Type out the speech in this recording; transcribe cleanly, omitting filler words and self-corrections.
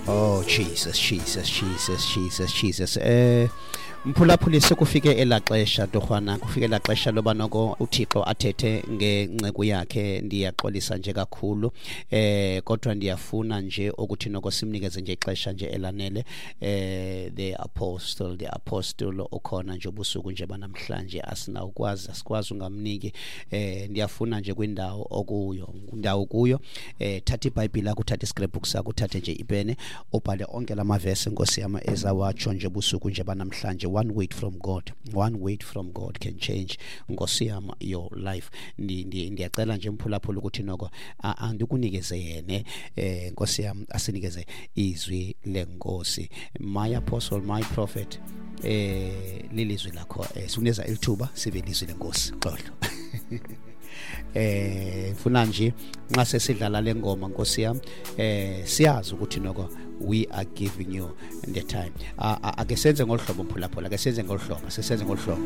Oh Jesus, Jesus, Jesus, Jesus, Jesus. Mphulaphuli, sekufike elaa xesha torhwana, kufike elaa xesha loba noko uThixo athethe ngenceku yakhe. Ndiyaxolisa nje kakhulu, kodwa ndiyafuna nje ukuthi noko simnikeze nje ixesha nje elanele. The apostle ukhona nje ubusuku nje banamhlanje, asinawukwazi, asikwazi ungamniki. Ndiyafuna nje kwindawo okuyo, indawo kuyo, thatha iBhayibhile yakho, uthathe iscrapbook sakho, uthathe nje ipene, ubhale onke la mavesi, Nkosi yam, ezawatsho nje busuku nje banamhlanje. One word from God, one word from God can change, Nkosi yam, your life. Ndiyacela nje, mphulaphula, ukuthi noko andikunikeze yene, Nkosi yam, asinikeze izwi lenkosi. My apostle, my prophet, lilizwi lakho. Sikunikeza elithuba sive ilizwi lenkosi. Xolo, ngifuna nje nxa sesidlala le ngoma, Nkosi yami, siyazi ukuthi noko we are giving you the time. Ake senze ngolu hlobo, mphulaphula, ake senze ngolu hlobo, sisenze ngolu hlobo.